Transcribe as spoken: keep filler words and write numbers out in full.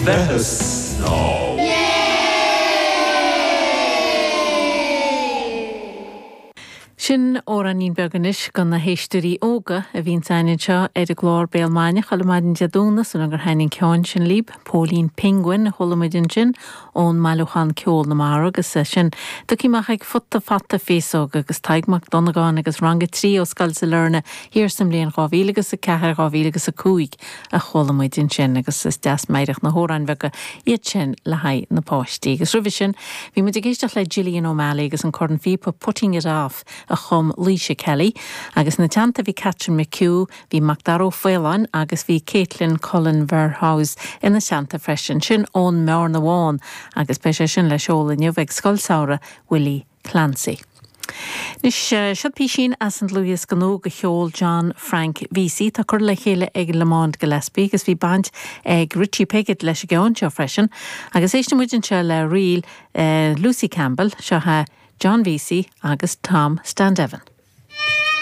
bheith ag snámh. Sin amhráinín beag anois do na héisteoirí óga a bhíonns againn anseo ar an gclár Béal Maidine chuile maidin Dé Domhnaigh sula gur thaithin an ceann sin libh, Póilín Penguin a chuala muid ansin ón mbailiúchán Ceol na Mara agus sin tugtha amach ag Futa Fata Féasóg agus Tadhg Mac Dhonnagáin agus Rang a trí ó Scoil Sailearna thiar sa mbliain dhá mhíle agus a ceathair dhá mhíle agus a cúig a chuala muid ansin agus is deas meidhreach na hamhráin bheaga iad sin le haghaidh na páistí. Agus roimhe sin bhí muid ag éisteacht le Gillian O'Malley agus an corn phíopa Putting It Off a chum Laoise Kelly, agus ina teannta bhí Catherine McHugh, bhí Macdara Ó Faoláin agus bhí Caitlin Cullen Verhaus ina teannta freisin, sin ón mBearna Bhán agus beidh sé sin le seoladh inniu ag Scoil Samhraidh Willie Clancy. Anois, seo písín as an dlúthdhiosca nua de cheol John Frank Vesey. Tá curtha le chéile ag Lamont Gillespie agus bhí baint ag Richie Piggott leis an gceann seo freisin. Agus éisteann muid anseo le ríl Lucy Campbell, seo John Vesey agus Tom Standeven.